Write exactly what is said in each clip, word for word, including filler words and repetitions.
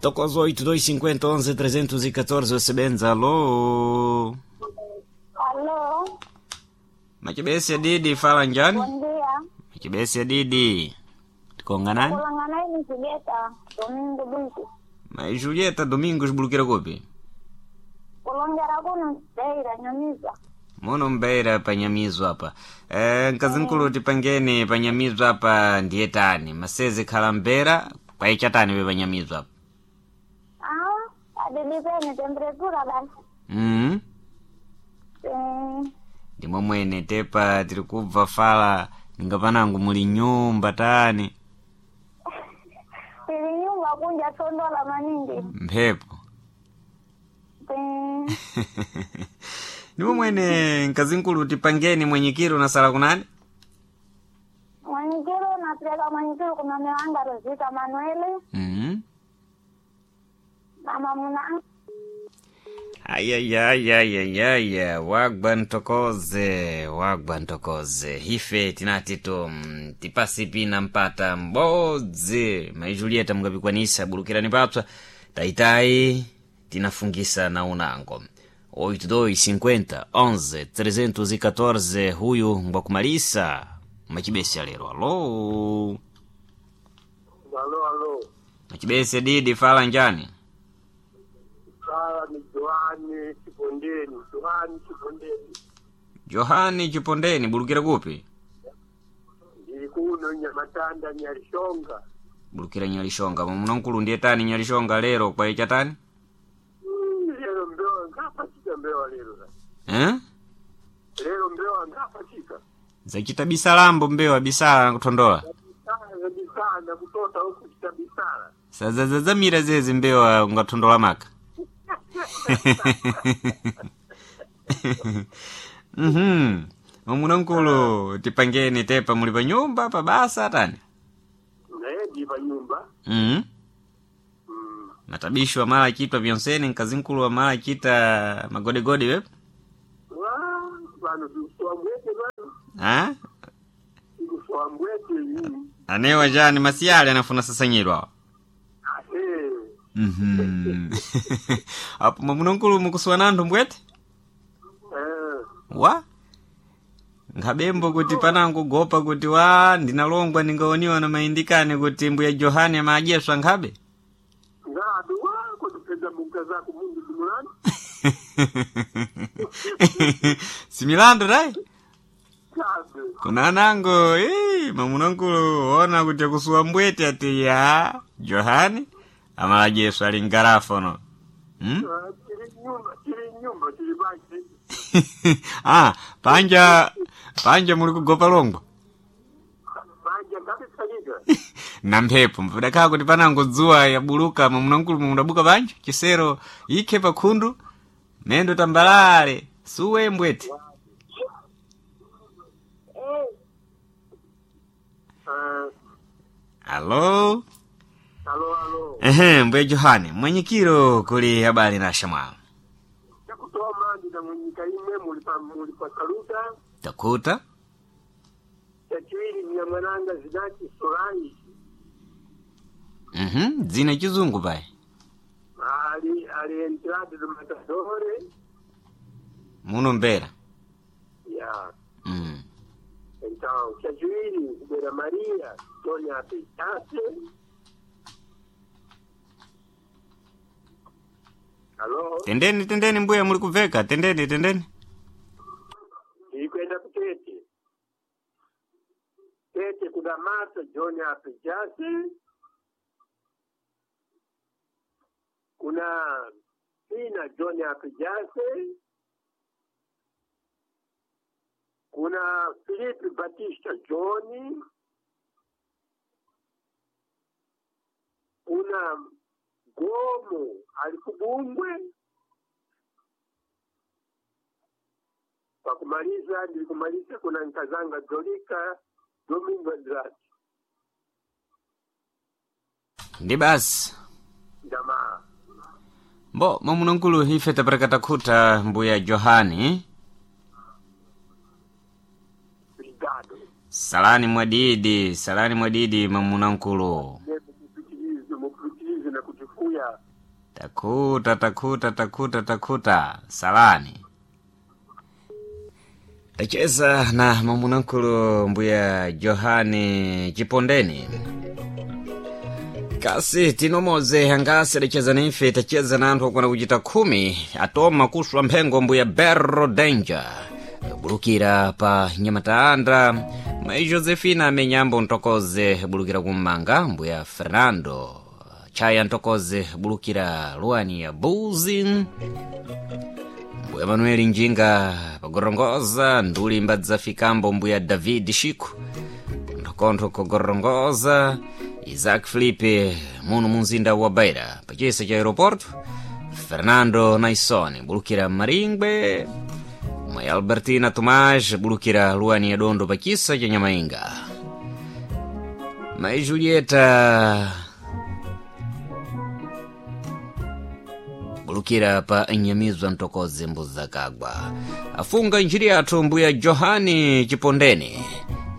Tokozo oito dois cinquenta onze trezentos e catorze osebenza. Alô. Alô, Machibesi Didi fala njani? bom dia. Machibesi Didi. Tikonga nani? Kulangana ini Julieta, Domingo Bichi. Mas Julieta Domingos bulukira kupi? Kulongera kuno Beira, Nyamiza. Muno mbeira panyamizwa apa. Eh, nkazinkulu tipangeni panyamizwa apa ndiye tani. Masezi khala mbera kwaichatani we panyamizwa apa. Ah, adilipeni temperatura basi. Mhm. Eh, Ndimo mwene tepa tiri kubva fala ninga panangu muli nyumba tani. tili nyumba kunja tondola maningi. Mphepo. Eh, Ndimo mwene nkazinkulu tipangeni mwenyikiro nasala kunani? mwenyikiro napeleka mwenyikiro kuna mewanga Rosita Manueli Mhm. na mamuna Ayayayayayaya, wagwa ntokoze, wagwa ntokoze. Ife tinati tu mm, tipasi pina mpata mbodzi. Mai Julieta mungapikwanisa bulukirani papsa. Taitai tinafungisa na unango. oito dois cinquenta onze trezentos e catorze huyu ngwakumalisa machibesi alero. Alô. Alô, alô. Machibesi Didi fala njani? Sala ni Johani Chipondeni, Johani Chipondeni. Johani Chipondeni bulukira kupi? Ndili kuno Nyamatanda Nyalishonga. Bulukira Nyalishonga. Mwamunankulu ndiye tani Nyalishonga lero kwa ichatani? Mm, Lero mbewa ngapachika mbewa lero. Eh? Lero mbewa ngapachika. Zachita bisalambo mbewa bisala kuthondola. Bisala bisala kutota huku chita bisala. Sazazazamira zezi mbewa ungathondola maka. Mhm. Mwamunankulu tipangeni tepa muli pa nyumba pa basa tani. Naye ndi pa nyumba. Mhm. Mm. Matabisho amala chitwa vyonsene nkazinkulu amala chita magodegode wepo. Wa vano tikusowa mbwete vano. Ah? Tikusowa mbwete. Mm. Anewa jani masiyale anafuna sasanyiro awo. Eh. Mhm. Apo mwamunankulu mukusuwa nanthu mbwete? Eh. Wa? Nkhabembo kuti panangu gopa kuti wa ndinalongwa ndingaoniwa na maindikani kuti mbuya Johani amadyeswa nkhabe. Ngabe wa kutipeza muka zako mundu simulani. Similando dai? Ngabe. Kuna anango, eh, mwamunankulu ona kuti akusuwa mbwete ati ya Johani amaladyeswa ali ngarafono. Hmm? Ah, Tili nyumba, tili nyumba, tili basi. Ah, panja panja muli kugopa longwa. Banja ngabe Na mphepo mpudakhala kuti panango dzuwa yabuluka mwamunankulu mudabuka panja chisero ikhe pakhundu mendo tambalale suwe mbwete. eh, Eh, Alo. alo alo. Ehe, mbuya Johani mwenyikiro kuli habari na shamwalo. Chakutoma ndinamwenyika imwe muli pa muli pa saluta. Takuta. Chachiwiri mya mwananga zinati Solange. Mhm, dzina chizungu payi. Ali ali entrado do matadore. Muno mbera. Ya. Mm. Então, chachiwiri kubera Maria, Tonya Apetase. Alo, Tendeni tendeni mbuya muli kubveka tendeni tendeni. ilikwenda kutete. Tete kuna Marta John Apejase. Kuna Pina John Apejase. Kuna Felipe Batista John. Kuna Gomo alikubungwe. Kwa kumaliza nilikumaliza kuna Nkazanga Jolika Domingo Andrade Ndi basi. jamaa. Mbo mwamunankulu ife tapereka takhuta mbuya Johani. Obrigado. Salani mwadidi, salani mwadidi mwamunankulu. Mupitilize, mupitilize na kujifuya Takhuta, takhuta, takhuta, takhuta. Salani. Tacheza na mamunankulu mbuya Johani Chipondeni. Kasi tinomoze angasi adacheza nife tacheza na anthu akwana kuchita khumi atoma kuswa mphengo mbuya Berro Danger bulukira pa Nyamataanda mai Josefina amenyambo ntokoze bulukira kummanga mbuya Fernando Chaya ntokoze bulukira luani ya Buzi mbuya Manueli Njinga pagorongoza nduli mbadzafikambo mbuya David Shiku nthokontho kogorongoza Isaac Felipe muno munzinda wa Beira pachisa cha aeroporto Fernando Naisoni bulukira Maringwe mai Albertina Tomás bulukira luani ya Dondo pachisa cha Nyamainga mai Julieta bulukira pa nyamizwa ntokoze mbuzakagwa afunga njiri yathu mbuya Johani Chipondeni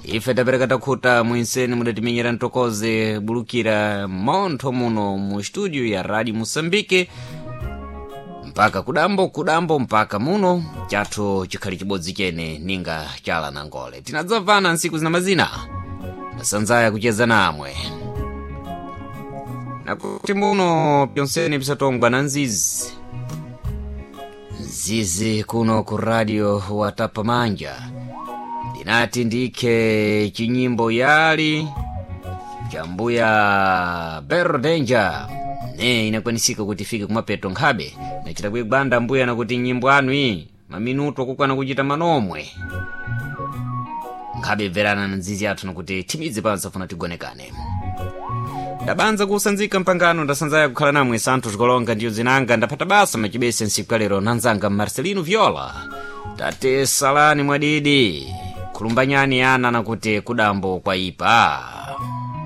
ife tapereka takhuta mwinseni mudatimenyera ntokoze bulukira montho muno mu studio ya radio Moçambique mpaka kudambo kudambo mpaka muno chathu chikhali chibodzi chene ninga chala na ngole tinadzamvana ntsiku zina mazina ndasanzaya kucheza namwe nakuti muno pyonseni pisatongwa na nzizi nzizi kuno ku radio watapa manja ndinati ndikhe chinyimbo yali cha mbuya Berro Danger ne inakwanisika kuti ifike kumapeto nkhabe nachita kuigwanda mbuya nakuti nyimbo anu iyi maminuto akukwana kuchita manomwe nkhabe bverana na nzizi athu nakuti thimidzi panso afuna tigonekane ndabanza kusanzika mpangano ndasanzaya kukhala namwe santhu tikolonga ndiyo zinanga ndaphata basa machibese nsiku kalero nanzanga Marcelino Viola tate salani mwadidi khulumbanyani ana nakuti kudambo kwaipa.